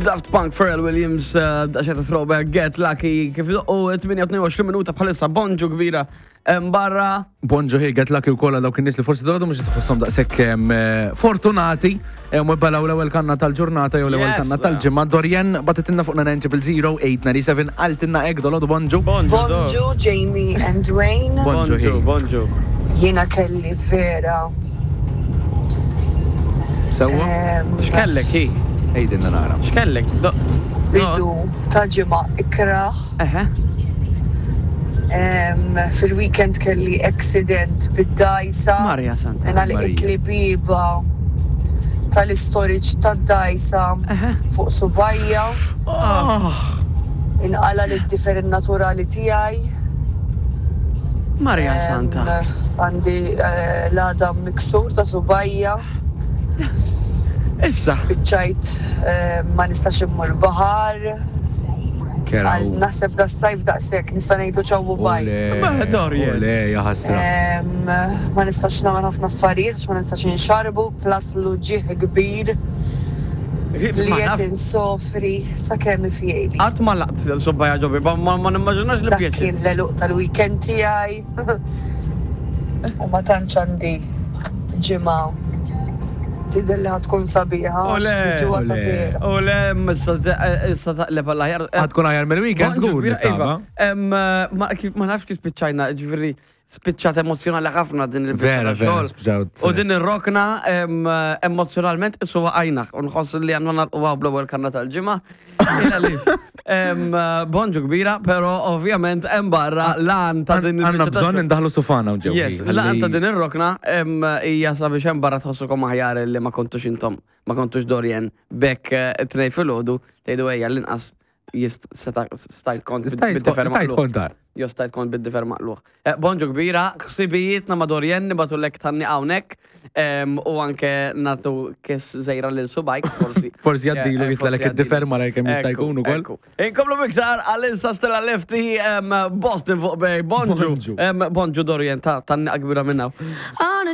Daft Punk, Pharrell Williams, eh, daqsxejn ta' throwback, Get Lucky, kif u 28 minuta bħalissa bonġu kbira barra. Bonġu hi, Get Lucky wkoll għal dawk in-nies li forsi dolodu mhux tħosshom daqshekk eh, fortunati eh, u balaw l-ewwel kanna tal-ġurnata jew l-ewwel kanna tal-ġimgħa. Dorjen batitilna fuq 9000897 qaltilna hekk dolodu bonġu. Bonġu Jamie and Dwayne. Bonġu, bonġu. Jiena kelli vera. Sewwa? X'kellek hi? Għidilna nara. X'kellek? Bidu ta' ġimgħa ikrah. Eħe. Fil-weekend kelli accident bid-dgħajsa. Marja Santa. Ingħalqitli bieba tal-istorage tad-dgħajsa fuq subgħajja. Inqala' lid-difer innaturali tiegħi. Marja Santa. Għandi l-għadam miksur ta' subgħajja. Issa. Spiċċajt ma nistax immur baħar. Naħseb das-sajf daqshekk nista' ngħidlu ċaw u bye. Ole, ja ħasra. Ma nistax nagħmel ħafna affarijiet għax ma nistax inxarrbu plus l-uġigħ kbir li qed insofri sakemm ifjejli. Qatt ma laqt subgħajja ġo bieba, ma nimmaġinax li pjaċir. Dak kien l-għeluq tal-weekend tiegħi. U ma tantx għandi ġimgħa tidher li ħa tkun sabiħa. U le, u le, issa taqleb għall aħjar. Ħa tkun aħjar mill-weekend żgur. Iva, ma nafx kif spiċċajna, ġifieri spiċċat emozjonali ħafna din il-biċċa xogħol. U din ir-rokna emozjonalment isu waqajna u nħoss li għandna nagħlquha bl-ewwel kanna tal-ġimgħa. Bonġu kbira, pero ovvjament hemm barra lan ta' din il Għandna bżonn indaħlu sufana ġew. Yes, lan ta' din ir-rokna hija sabiex hemm barra tħossukom aħjar li ma kontux intom, ma kontux Dorjen bekk eh, tnej filgħodu tgħidu ejja l-inqas stajt kont stajt kontar. Jo stajt kont bid-difer maqluħ. Eh, bonġu kbira, ħsibijietna ma' Dorjen nibatulek tanni hawnhekk u anke natu kiss żejra lil subajk forsi. Forsi jgħaddilu eh, jitlalek id-difer ma kemm jista' jkun ukoll. Inkomplu miktar għal-insa Stella Lefty Boston fuq bej. Bonġu. Bonġu Dorjen ta' tanni kbira minna.